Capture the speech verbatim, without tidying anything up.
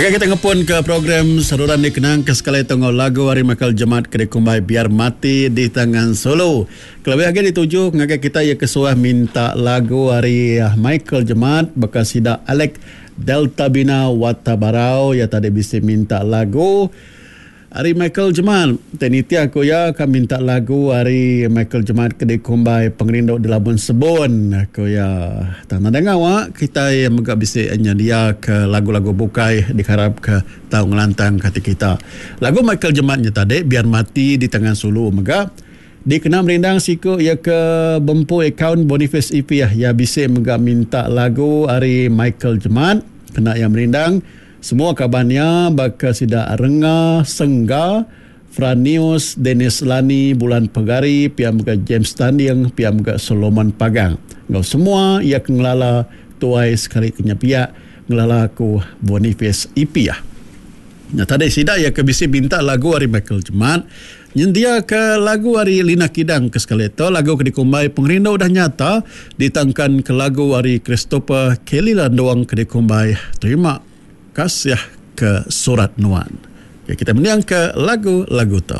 Agak kita ngepun ke program Saluran Dikenang ke sekali tu enggau lagu ari Michael Jemat ke dikumbai Biar Mati di Tangan Sulu. Kelebih agi dituju ngagai kita iya ke suah minta lagu ari Michael Jemat baka sida Alex Delta Bina Watabarau iya tadi bisi minta lagu ari Michael Jemat. Ti nitih aku iya ka minta lagu ari Michael Jemat ke dikumbai Pengerindu Dilabun Sebun ku iya. Tang nadai ngawa kitai mega bisi nyediaka lagu-lagu bukai dikarapka tau ngelantangka ati kita. Lagu Michael Jemat nya tadi Biar Mati di Tangan Sulu mega dikena merindang siku iya ke bempu akaun Boniface E P iya bisi mega minta lagu ari Michael Jemat kena iya merindang semua kaban iya baka sida Renga Sengga, Franius, Dennis Lani, Bulan Pegari, pia mega James Tanding, pia mega Solomon Pagang. Enggau semua iya ke ngelala tuai sekali ke nyepiak ngelala aku Boniface E P. Nya tadi sida iya ke bisi minta lagu ari Michael Jemat nyendia ke lagu ari Lina Kidang ke sekali tu lagu ke dikumbai Pengerindu Udah Nyata ditangkan ke lagu ari Christopher Kelly Landuang ke dikumbai Terima Kasih ke Surat Nuan. Okay, kita mending ke lagu-lagu tu.